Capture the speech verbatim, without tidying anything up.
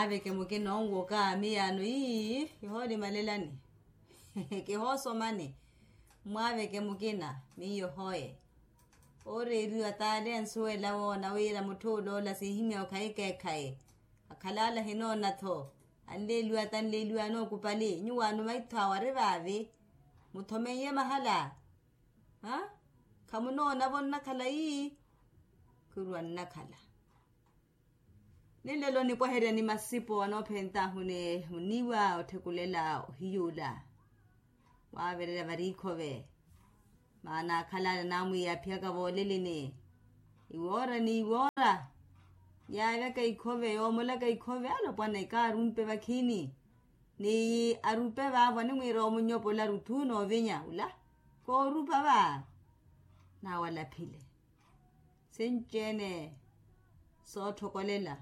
Mwaaveke mukina onwoka miyaano ii, kihoolimalelani, kihoosomani. Mwaaveke mukina miyo hoye. Ooreeriwa t'ale ansuwela woona wira mutth'ule ola siihimya okhayi ekeekhayi. Akhalaala hinoona-tho. Anleeliwa t'anleeliwa anookupali nyuwaano maitho awo ari vaavi. Muthomeiye mahala. Khamunoonavo nnakhala ii? Khurwa nnakhala. Ninlelo nipwaherya ni masipo anoophent'ahu ni muniiwa otthekulela ohiyuula. Waavererya vari ikhove. Maana akhalale naamwiiya aphiyaka vooleleni. Iwoora ni iwoora yaavyaka ikhove yoomolaka ikhove alopwana ikaarumpe vakhiini. Ni arupe vaavo animwiira omunyopola ruthu noovinya ula. Koorupa va. Naawalaphile. Sinci-ene sootthokolela.